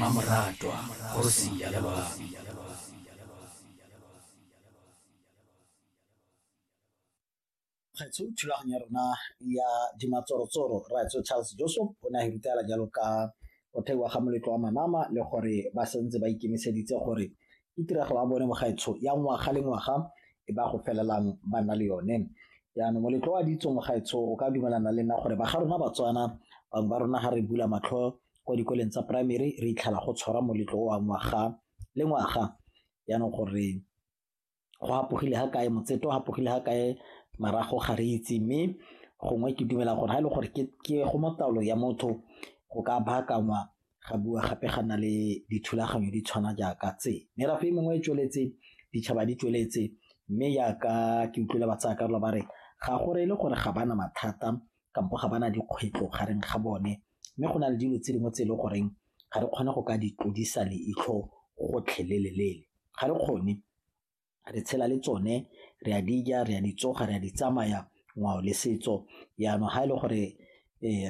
Mmamoratwa, kgosi ya loabi. Kgweetso thulaganyo ya rona ya dimatsorotsoro rraetsho Charles Joseph o ne a rutela jalo ka go theiwa ga moletlo wa Manama le gore ba santse ba ikemiseditse gore ke tiragalo ya bone mo gaetsho ya ngwaga le ngwaga e ba go felelang ba nna le yone. Jaanong moletlo wa ditso mo gaetsho o ka dumelana le nna gore ba ga rona Batswana bangwe ba rona ga re bula matlho kwa dikoleng tsa primary re itlhela go tshwarwa moletlo wa ngwaga le ngwaga jaanong gore go apogile ga kae o apogile ga kae marago ga re itse mme gongwe ke dumela gore ga e le gore ke go mo taolo ya motho go ka baakangwa ga bua gape ga nna le dithulaganyo di tshwana jaaka tse. Merafe e mengwe e tsweletse, ditšhaba di tsweletse mme jaaka ke utlwile ba tsaya karolo ba re ga go reye gore ga ba na mathata kampo ga ba na dikgwetlho gareng ga bone mme go na le dilo tse dingwe tse e leng goreng ga re kgone go ka di tlodisa leitlho gotlhelele, ga re kgone re tshela le tsone re a di ja, re a di tsoga, re a di tsamaya ngwao le setso jaanong ga e le gore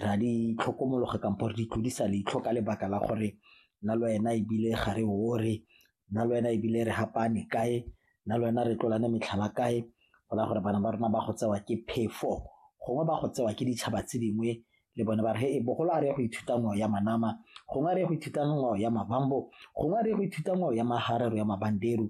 re a di tlhokomologa kampo re di tlodisa leitlho ka lebaka la gore nna le wena ebile ga re ore, nna le wena ebile re fapane kae, nna le wena re tlolane metlhala kae go raya gore bana ba rona ba go tsewa ke phefo gongwe ba go tsewa ke ditšhaba tse dingwe le bone ba re bogolo a re ye go ithuta ngwao ya Manama, gongwe a re ye go ithuta ngwao ya Mavambo, gongwe a re ye go ithuta ngwao ya Maharero ya Mabanderu.